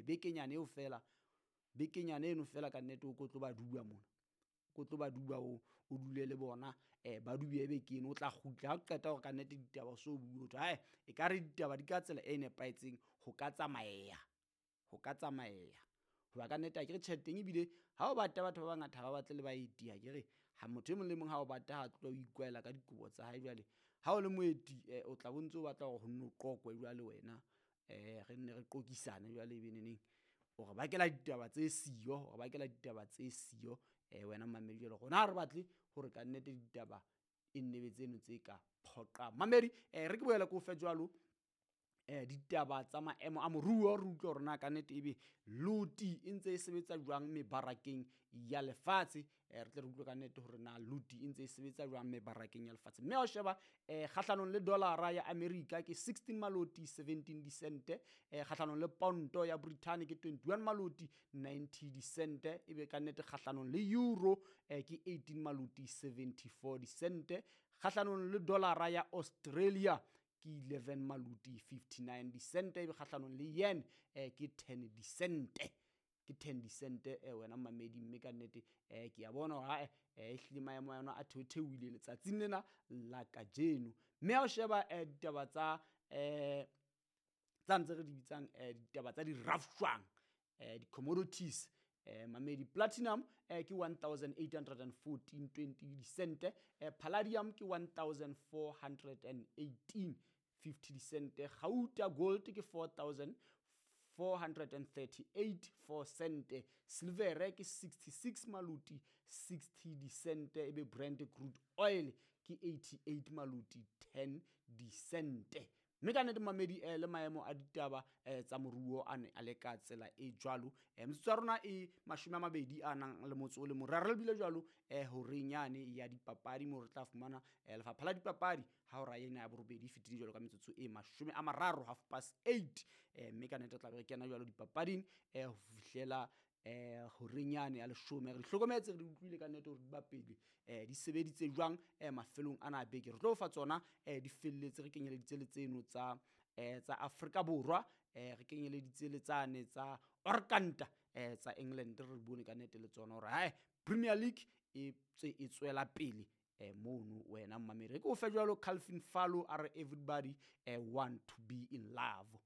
Bekenyana eo feela, bekenyana eno feela kannete o ko tlo ba duba mona, o tlo ba duba, o dule le bona, ba dube beke eno, o tla kgutla ha o qeta hore kannete ditaba o so bue hothwe ae ekare ditaba di ka tsela e nepahetseng, ho ka tsamaeya, ho ka tsamaeya. Hoba kannete akere tjheleteng ebile ha o bata batho ba bangata ha ba batle le baeti, akere ha motho e mong le mong ha o bata ha tloha o ikwahela ka dikobo tsa hae. Jwale ha o le moeti, o tla bo ntso o batla hore ho nno qoqwe jwale wena, re nne re qoqisane jwale ebe neneng o re bakela ditaba tse siyo, o re bakela ditaba tse siyo, wena mmamedi. Jwale rona ha re batle hore kannete ditaba e nne be tseno tse ka phoqang mamedi. Re ke boele ke o fe jwalo, ditaba tsa maemo a moruo, re utlwe hore na kannete ebe loti e ntse e sebetsa jwang mebarakeng ya lefatshe. Re tle re utlwe kannete hore na loti e ntse e sebetsa jwang mebarakeng ya lefatshe. Mme ha o sheba, kgahlanong le dollara ya America ke 16 maloti 17 disente, kgahlanong le ponto ya Britain ke 21 maloti 90 disente, ebe kannete kgahlanong le euro, ke 18 maloti 74 disente, kgahlanong le dollara ya Australia ke 11 maloti 59 disente, ebe kgahlanong le yen, ke 10 disente, ke 10 disente, wena mmamedi. Mme kannete, ke a bona hore ae, ehlile maemo a yona a theotheohile letsatsing lena la kajeno. Mme ha o sheba, ditaba tsa, tsa ntse re di bitsang, ditaba tsa di-rafshwang, di-commodities, mamedi, platinum, ke 1814.20 disente, palladium ke 1418.50 disente, gauta gold ke 4438.4 sente, silvere ke 66 maloti 60 disente, ebe Brent crude oil ke 88 maloti 10 disente. Mme ka nnete mamedi, le maemo a ditaba, tsa moruo a ne a le ka tsela e jwalo. Metsotso ya rona e 20 a nang le motso o le mong. Re re lebile jwalo, horeng yane ya dipapadi moo re tla fumana, lefapha la dipapadi ha hora ena ya borobedi e fetile jwalo ka metsotso e 30, 8:30. Mme ka nnete re tla be re kena jwalo dipapading, ho fihlela, horeng yane ya 10. Re hlokometse, re di utlwile ka nnete hore di bapele, di sebeditse jwang, mafelong ana a beke. Re tlo fa tsona, di felletse, re kenyeleditse le tseno tsa, tsa Afrika Borwa, re kenyeleditse le tsane tsa Orkanta, tsa England, re bone ka nnete le tsona hore hae Premier League e tse e tswela pele, mono wena mmamedi. Re ke o fe jwalo Calvin Fallow a re everybody, want to be in love.